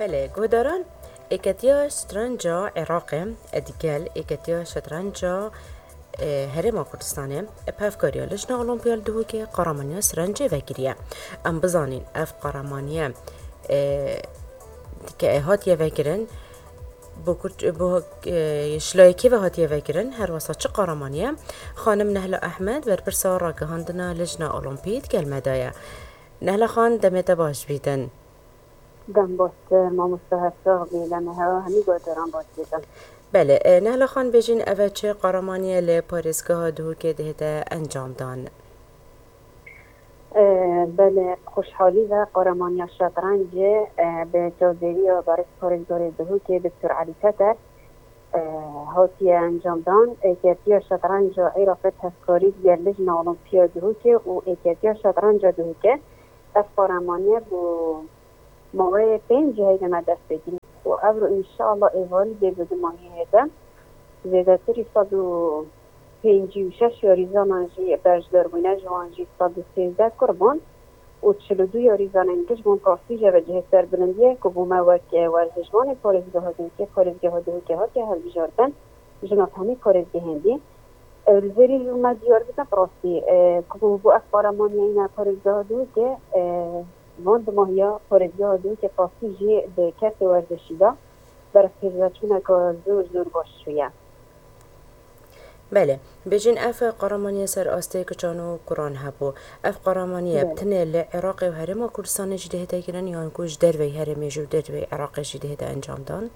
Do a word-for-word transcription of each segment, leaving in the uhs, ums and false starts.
Belê, guhdaran, Êketiya Şetrenca Iraqê digel Êketiya Şetrenca, e, Herêma Kurdistanê bi hevkariya Lijna Olimpiya li Duhokê qaramaniya şetrencê vekiriye. Em bizanîn ev qaramaniye, e, ke hatiye vekirin, bo Kurd, bo, e, ji layekê ve hatiye vekirin, her wesa çi qaramaniye? Xanim Nehla Ehmed, berpirsa ragihandina Lijna Olimpî digel me de ye. Nehla Xan, demê te baş bîtin. Dem baş, e, mamoste Hevsax bî, demê hewa hemî guhdaran baş bîtin. Belê, e, Nehla Xan, bêjin eve çi qaramaniye li parêzgeha Duhokê dihête encamdan? E, belê, bi xweşhalî ve qaramaniya şetrencê, e, bi çavdêriya berêz parêzgarê Duhokê Doktor Elî Teter, e, hatiye encamdan. Êketiya Şetrenca Iraqê bi hevkarî digel Lijna Olimpiya Duhokê û Êketiya Şetrenca Duhokê ev qaramaniye bo maweyê pênc cihê de me dest pê kiriye û evro înşeallah êvarî dê bi dumahiyê hête zêdetirî sed û pêncî û şeş yarîzanan jî beşdar bûne, ji wan jî sed û sêzdeh kur bûn û çil û du yarîzanên giş bûn. Rastî jî eve cihê serbilindî ye ku bo me wek, e, werzişvanê parêzgeha Duhokê, parêzgeha Duhokê hatiye hilbijartin, jina hemî parêzgehên dî. E, li vêrî jî me diyar bikin, bi rastî, e, ku bo ev qaramaniya îna parêzgeha Duhokê, e, van dumahiya parêzgeha Duhokê bi rastî jî di kertê werzişî de berfpêşveçûneke zor, zor baş çûye. Belê, bêjin ev qaramaniye ser astê kiçan û kuran hebû. Ev qaramaniye bi Belê. tenê li Iraqê û Herêma Kurdistanê jî dihête kirin yan ku ji derveyî herêmê jî û derveyî Iraqê jî dihête encamdan?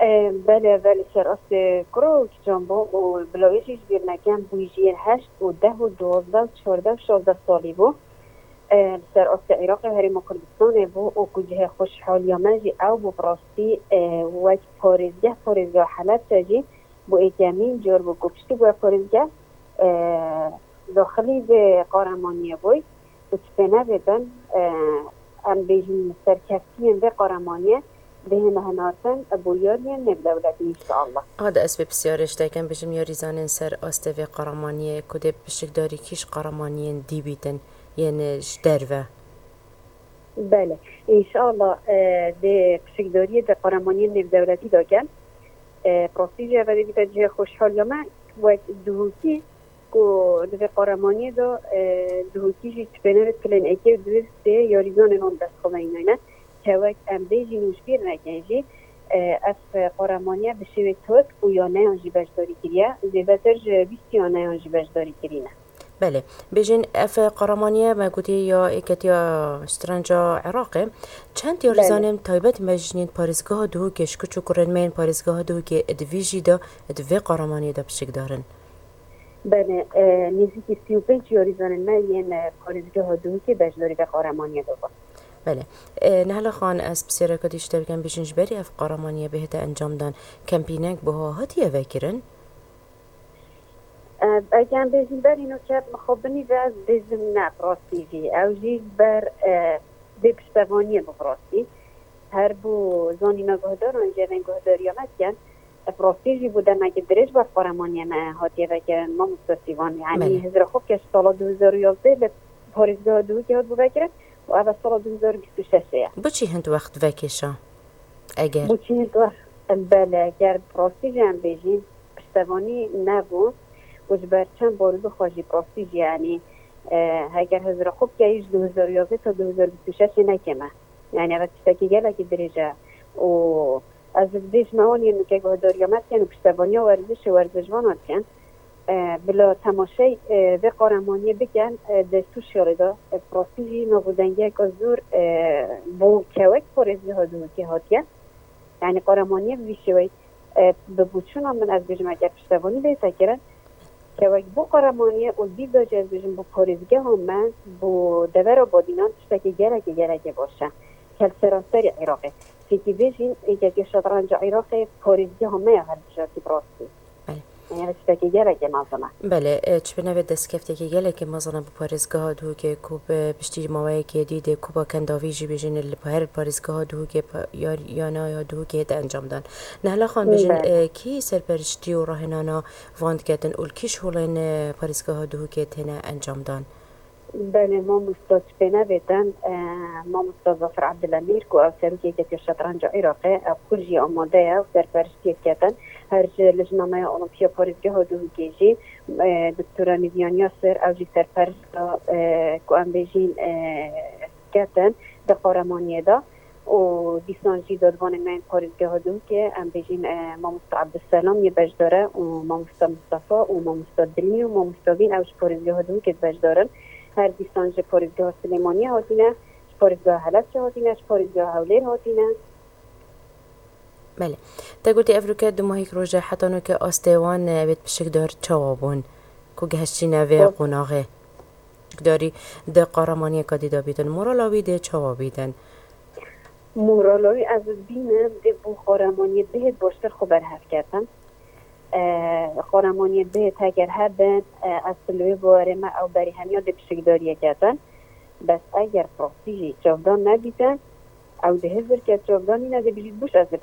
E, belê, belê, ser astê kura û kiçan bû û bila wê jî ji bîr nekem bûyî jiyên heşt û deh û duwazdeh û çardeh û şazdeh salî bû. E, li ser astê Iraqê û Herêma Kurdistanê bû û ku cihê xweşhaliya me jî ew bû bi rastî, e, wek parêzgeh, parêzgeha Helebçe jî bo êkemîn car bû ku piştî ku ev parêzgeh, e, daxilî vê qaremaniyê bûy û dipêne vê bin, e, em bêjin serkeftiyên vê qaremaniyê bihêne hinartin bo yariyên nêvdewletî înşeallah. Hadi ez vê pisyarê ji te kem, bêjim yarîzanên ser astê vê qaremaniyê ku dê pişikdarî kî ji qaremaniyên dî bîtin yên ji derve? Belê. Înşallah, e, dê pişikdariyê di qaremaniyên nêvdewletî de kin. E, bi rastî jî ev ê bîte cihê xweşhaliya me wek Duhokî ku di vê qaremaniyê de, e, Duhokî jî dipêne vê pilên êkê û duê sê yarîzanên wan bi dest xwe ve înayne. Kewek em bêjîn û ji bîr nekin jî, e, ev qaramaniye bi şêwê tirk û ya neyan jî beşdarî kiriye. Zêdetir ji bîst ya neyan jî beşdarî kirîne. Belê. Bêjin, ev qaramaniye me gotî ya Êketiya Şetrenca Iraqê. Çend Belê. yarîzanên taybet me jî yên parêzgeha Duhokê, ji kiç û kurên me yên parêzgeha Duhokê di vî jî de, di vê qaramaniyê de pişikdar in? Belê, e, nêzîkî sî û pênc yarîzanên me yên, e, parêzgeha Duhokê beşdarî vê qaramaniyê de bûn. Belê. E, Nehla Xan, ez pisyareka dî ji te bikim, bêjin ji berî ev qaramaniye bihête encamdan, kempînek buha hatiye vekirin? E, eger em bêjin berî nûke mixabinî ve ez dibêjim ne, bi rastî jî. Ew jî ji ber, e, vê piştevaniyê bû bi rastî. Her bo zanîna guhdaran jî evên guhdariya me dikin. E, bi rastî jî bû demekî dirêj ber qaremaniyê me hatiye vekirin, mamoste Sîvan. Yanî Belê. hizra xwe bike ji sala du hezar û yazdeh li parêzgeha Duhokê hatibû vekirin û ev sala du hezar û bîst û şeş e. Bo çi hind wext vekêşa? Eger. Bo çi hind wext, belê, eger bi rastî jî em bêjîn, piştevanî nebû û ji ber çend baroyê xwe jî bi rastî jî, yanî, e, heger hizra xwe bikeyî ji du hezar û yazdeh ta du hezar û bîst û şeş ê ne kêm e. Yanî ev tiştekî gelekî dirêj e û ez dibêjim ewan yên nûke guhdariya me dikin û piştevaniya werzişê werzişvana dikin. E, bila temaşey, e, vê qaremaniyê bikin, e, di Sûriyeyê de, e, bi rastî jî nav û dengiyeke zor, e, bo kewek parêzgeha Duhokê hatiye. Yanî qaremaniyê bi vî şêweyî, e, bi boçûna min ez bêjim, eger piştevanî bête kirin, kewek bo qaremaniyê û dîv de jî ez bêjim bo parêzgeha me, bo devera Badînan tiştekî gelekî, gelekî baş e. Kel seranserî Iraqê. Fêkî bêjîn, Êketiya Şetrenca Iraqê parêzgeha me ya hilbijartî bi rastî. Belê. Yanî tiştekî gelekî mezin e. Belê, e, çi bi navê destkeftiyekî gelekî mezin e bi parêzgeha Duhokê ku bi piştî maweyekê dî dê Kupa Kendavî jî bêjin li her parêzgeha Duhokê pa-, ya, ya naya Duhokê hête encamdan. Nehla Xan, bêjin, Belê. e, kî serperiştî û rahênana van diketin û li kî şolên, e, parêzgeha Duhokê têne encamdan? Belê, mamosta, çi pê nebêtin, e, mamosta Zafer Abdülemîr, ku ew serokê Yeketiya Şetrenca Iraqê, ew xwe jî amade ye û serperiştiyê diketin. Her ji Lijnameya Olimpiya Parêzgeha Duhokê jî, e, Doktora Nîvyan Yasir, ew jî serperişta, e, ku em bêjîn, e, ketin di qaremaniyê de. Û dîsan jî dadvanê me yên parêzgeha Duhokê, em bêjîn, e, mamosta Abdüselam yê beşdar e û mamosta Mustafa û mamosta Dilmî û mamosta Vîn, ew ji parêzgeha Duhokê beşdar in. Her dîsan ji parêzgeha Silêmaniyê hatine, ji parêzgeha Helebçe hatine, ji parêzgeha Hewlêr hatine. Belê. Te gotî ev roke du mahîk roj e, heta noke astê wan, e, wêt pişikdar çawa bûn ku gehiştîne vê Rast. qonaxê? Pişikdarî di qaramaniyeka dî de bîtin. Morala wî dê çawa bîtin? Morala wî ez dibînim dê bo qaramaniyê bihêt baştir xwe berhev ketin. E, qaramaniyê bihêt heger hebin, e, ez li wê bawerê me ew berî hemiya dê pişikdariyê ketin. Bes eger rastî jî çavdan nebîtin, ew dê hizir kes çavdan nîne, dê bijît buş ez ê